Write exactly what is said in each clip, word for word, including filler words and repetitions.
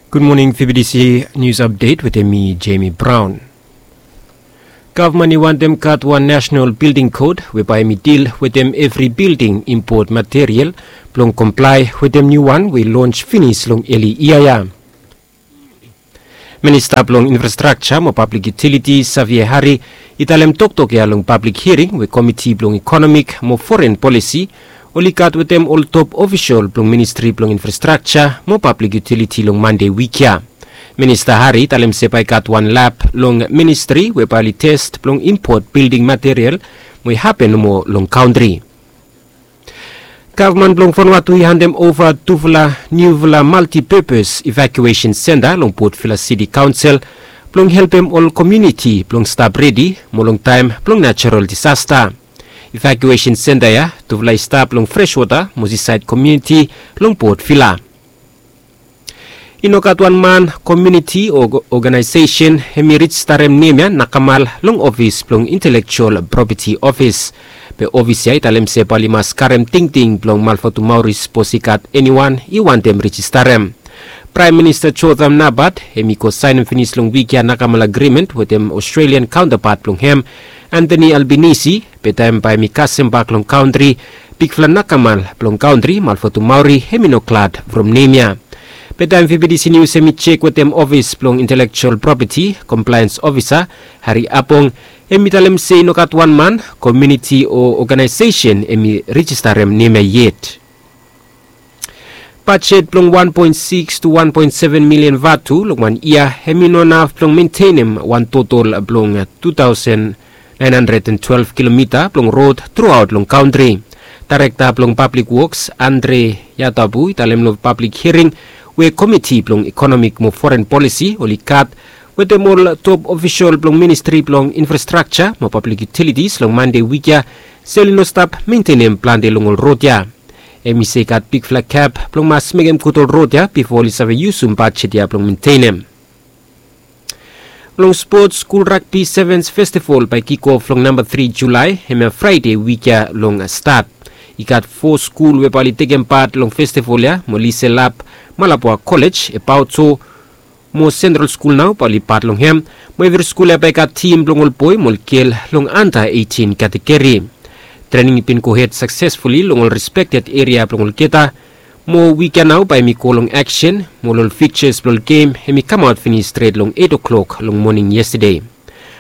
Gud moning, V B T C News Update wetem mi, Jamie Brown. Gavman i wantem gat wan nasenal bilding kod we bae hem i dil wetem evri bilding impot material blong komplae wetem niu wan we i lons finis long eli yia ya. Minista blong Infrastrakja mo Pablik Yutiliti, Xavier Hari, i talem toktok ya long pablik hiring we Komiti blong Ikonomik mo Foren Polisi oli gat wetem ol top ofisol blong Ministri blong Infrastrakja mo Pablik Yutiliti long Mande wik ya. Minista Hari i talem se bae i gat wan lab long ministri we bae oli tes blong impot bilding material mo i hapen nomo long kantri. Gavman blong Vanuatu i handem ova tufala niufala multipurpose evacuation center long Port Vila City Council blong helpem ol komuniti blong stap redi mo long taem blong natural disaster. Evacuation center ya tufala i stap long Freshwater mo Seaside komuniti long Port Vila. I no gat wan man, komuniti o ogenaesesen hem i rejistarem nem ya nakamal long ofis blong Intelekjual Propeti Ofis. Be ofis ya i talem se bae oli mas karem tingting blong Malvatumauri sapos i gat eniwan i wantem rejistarem. Praem Minista Jotham Napat hem i go saenem finis long wik ya nakamal agrimen wetem Australian kaontapat blong hem, Anthony Albanese, be taem bae hem i kasem bak long kantri, bigfala nakamal blong kantri Malvatumauri hem i no glad from nem ya. Be taem V B T C News hem i jek wetem ofis blong Intelekjual Propeti, komplaens ofisa Hari Apong, hem i talem se i no gat wan man, komuniti o ogenaesesen hem i rejistarem nem ya yet. Bajet blong wan poen sikis tu wan poen seven milian vatu long wan yia hem i no naf blong mentenem wan totol blong tu taosen naen handred an twelef kilomita blong rod truaot long kantri. Daerekta blong Pablik Woks, Andre Yatabu, i talem long pablik hiring we Komiti blong Ikonomik mo Foren Polisi oli gat wetem ol top ofisol blong Ministri blong Infrastrakja mo Pablik Yutilitis long Mande wik ya se oli no stap mentenem plante long ol rod ya. Hem i se i gat bigfala gap blong mas mekem gud ol rod ya bifo oli save yusum bajet ya blong mentenem. Long spots, Skul Ragbi Sevens Festival bae i kikof long namba tri Julae, hemia Fraede wik ya long stat. I gat fo skul we bae oli tekem pat long festival ya, mo Liselap, Malapua Kolej, Epaoto, mo Sentral Skul nao bae oli pat long hem, mo evri skul ya bae i gat tim blong ol boe mo ol gel long anda eitin kategori. Trening i bin gohed saksesfuli long ol respekted eria blong olgeta, mo wik ya nao bae hem i go long aksen, mo ol fikjas blong ol gem hem i kamaot finis stret long eit o'klok long moning yestade.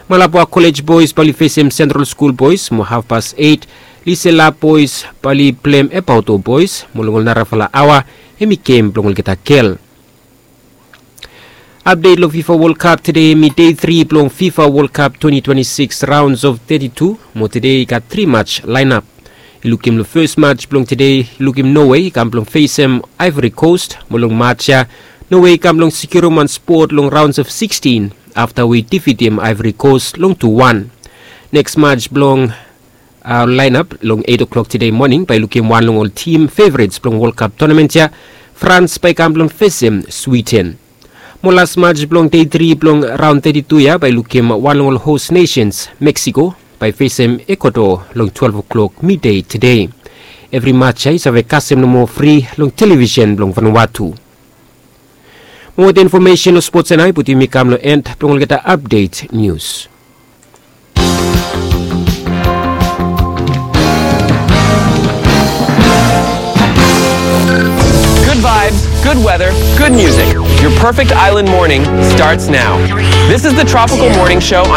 Malapua Kolej Boes bae oli fesem Sentral Skul Boes, mo hafpas eit, Liselap Boes bae oli plem Epaoto Boes, mo long ol narafala aoa hem i gem blong olgeta gel. Apdet long FIFA World Cup, tede hemi dei tri blong FIFA World Cup twenty twenty-six rounds of thirty-two, mo tede i gat tri match laenap. I lukim long fes match blong tede, i lukim Norway i kam blong fesem Ivory Coast, mo long match ya Norway i kam blong sekiurem wan spot long rounds of sixteen afta we i difitim Ivory Coast long tu wan. Neks match blong a, laenap long eit o'klok tede moning bae i lukim wan long ol tim fevrets blong World Cup tonament ya, Frans bae i kam blong fesem Switen. Mo las match blong dei tri blong raon teti tu ya bae i lukim wan long ol hos nesens, Meksiko, bae i fesem Ekuador long twelef o'klok midei tede. Evri match ya i save kasem nomo fri long televisen blong Vanuatu. Mo wetem infomesen long spots ya nao i putum mi kam long en blong olgeta apdet nius. Good vibes, good weather, good music. Your perfect island morning starts now. This is the Tropical Morning Show on